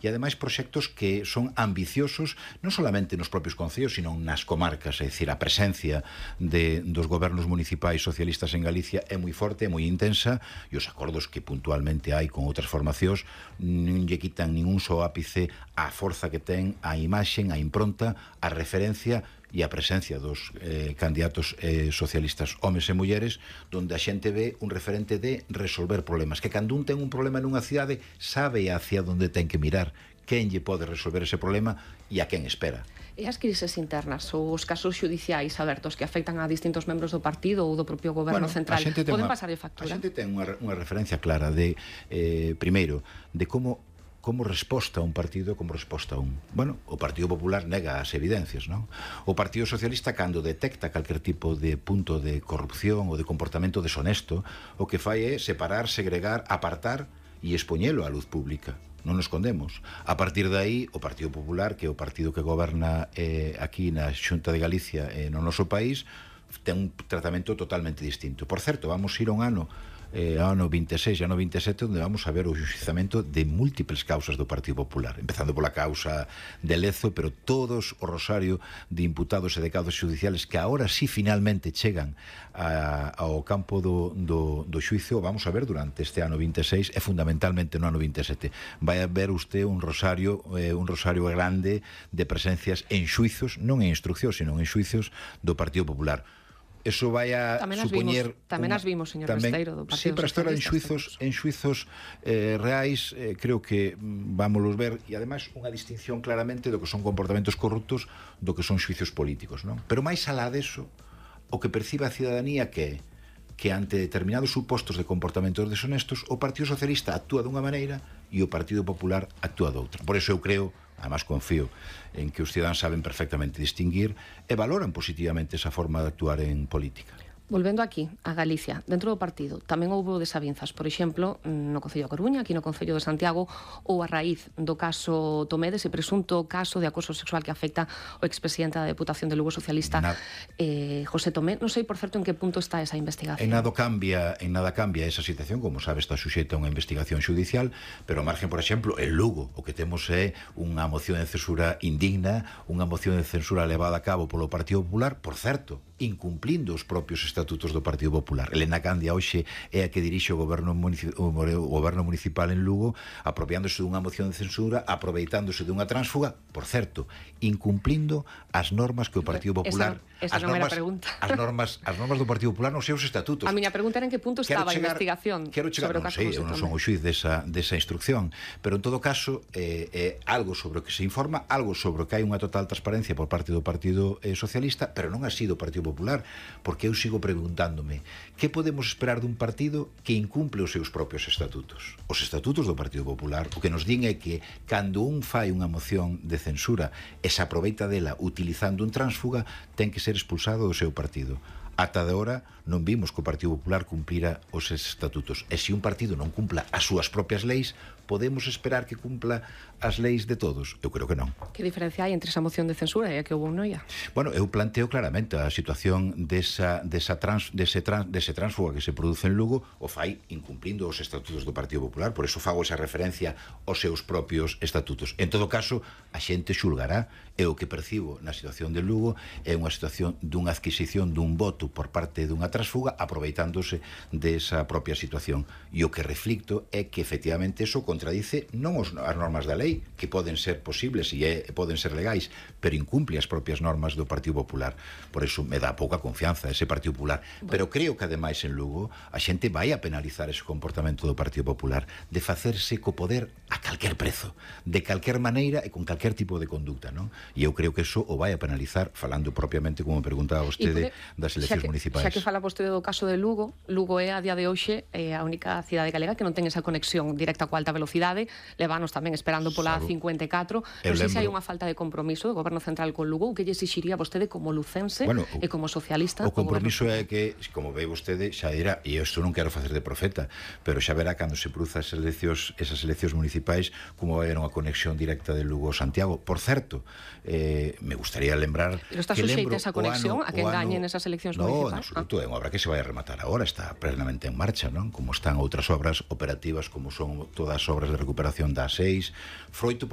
e ademais proxectos que son ambiciosos non solamente nos propios concellos, sino nas comarcas, é dicir, a presencia dos gobernos municipais socialistas en Galicia é moi forte, é moi intensa, e os acordos que puntualmente hai con outras formacións non lle quitan ningún só ápice a forza que ten, a imaxen, a impronta, a referencia e a presencia dos candidatos socialistas homes e mulleres, donde a xente ve un referente de resolver problemas, que cando un ten un problema nunha cidade sabe hacia onde ten que mirar, quen lle pode resolver ese problema e a quen espera. E as crises internas ou os casos xudiciais abertos que afectan a distintos membros do partido ou do propio goberno central poden pasarlle factura? A xente ten unha referencia clara de, primeiro, de como resposta a un partido, como resposta a un. Bueno, o Partido Popular nega as evidencias, non? O Partido Socialista, cando detecta calquer tipo de punto de corrupción ou de comportamento deshonesto, o que fai é separar, segregar, apartar e expoñelo á luz pública. Non nos escondemos. A partir de aí, o Partido Popular, que é o partido que goberna aquí na Xunta de Galicia no noso país, ten un tratamento totalmente distinto. Por certo, vamos ir a un ano 26 e ano 27, onde vamos a ver o xuizamento de múltiples causas do Partido Popular, empezando pola causa de Lezo, pero todos o rosario de imputados e de causas judiciales que agora sí finalmente chegan ao campo do xuizo, vamos a ver durante este ano 26 e fundamentalmente no ano 27. Vai a ver usted un rosario grande de presencias en xuizos, non en instruccións, sino en xuizos do Partido Popular. Eso vai a supoñer... Tamén as vimos, señor Besteiro, do Partido Socialista. Sí, pero hasta ahora en xuizos reais, creo que vámonos ver, e ademais unha distinción claramente do que son comportamentos corruptos do que son xuizos políticos, non? Pero máis alá deso, o que percibe a cidadanía que ante determinados supostos de comportamentos deshonestos, o Partido Socialista actúa dunha maneira e o Partido Popular actúa doutra. Por eso eu creo, además confío en que os cidadáns saben perfectamente distinguir e valoran positivamente esa forma de actuar en política. Volvendo aquí, a Galicia, dentro do partido, tamén houbo desavinzas, por exemplo, no Concello da Coruña, aquí no Concello de Santiago, ou a raíz do caso Tomé, dese presunto caso de acoso sexual que afecta o expresidente da Deputación de Lugo Socialista, José Tomé. Non sei, por certo, en que punto está esa investigación. En nada cambia esa situación, como sabe, está suxeita a unha investigación judicial, pero ao margen, por exemplo, en Lugo, o que temos é unha moción de censura indigna, unha moción de censura levada a cabo polo Partido Popular, por certo, incumplindo os propios estatutos do Partido Popular. Elena Candia hoxe é a que dirixe o goberno municipal en Lugo, apropiándose dunha moción de censura, aproveitándose dunha tránsfuga, por certo, incumplindo as normas que o Partido Popular... Esa non era a pregunta. As normas do Partido Popular nos seus estatutos. A miña pregunta era en que punto estaba a investigación sobre o caso José Tomé. Eu non son o xuiz desa instrucción, pero en todo caso é algo sobre o que se informa, algo sobre o que hai unha total transparencia por parte do Partido Socialista, pero non así do Partido Popular, porque eu sigo preguntándome que podemos esperar dun partido que incumple os seus propios estatutos. Os estatutos do Partido Popular o que nos din é que cando un fai unha moción de censura e se aproveita dela utilizando un tránsfuga, ten que ser expulsado do seu partido. Ata de hora non vimos que o Partido Popular cumplira os estatutos. E se un partido non cumpla as súas propias leis, podemos esperar que cumpla as leis de todos? Eu creo que non. Que diferencia hai entre esa moción de censura e a que houve un noia? Bueno, eu planteo claramente a situación dese tránsfuga que se produce en Lugo, o fai incumplindo os estatutos do Partido Popular, por eso fago esa referencia aos seus propios estatutos. En todo caso, a xente xulgará, e o que percibo na situación de Lugo é unha situación dunha adquisición dun voto por parte dunha tránsfuga aproveitándose desa propia situación. E o que reflicto é que efectivamente eso contradice non as normas da lei, que poden ser posibles e poden ser legais, pero incumple as propias normas do Partido Popular. Por eso me dá pouca confianza ese Partido Popular. Pero creo que ademais en Lugo a xente vai a penalizar ese comportamento do Partido Popular de facerse co poder a calquer prezo, de calquer maneira e con calquer tipo de conducta, non? E eu creo que eso o vai a penalizar, falando propiamente, como me preguntaba vostede, das eleccións municipais. Xa que fala vostede do caso de Lugo, Lugo é a día de hoxe a única cidade galega que non ten esa conexión directa coa alta velocidade, levanos tamén esperando pola A54. Non sei se hai unha falta de compromiso do Goberno Central con Lugo, o que lle exixiría vostede como lucense e como socialista? O compromiso é que, como ve vostede, xa dirá, e isto non quero facer de profeta, pero xa verá cando se produza esas eleccións municipais como vai haber unha conexión directa de Lugo a Santiago. Por certo, me gustaría lembrar... Pero está suxeita esa conexión a que engañen esas eleccións municipais? No, en absoluto, é unha obra que se vai a rematar agora, está plenamente en marcha, non? Como están outras obras operativas, como son todas as obras de recuperación da A6, froito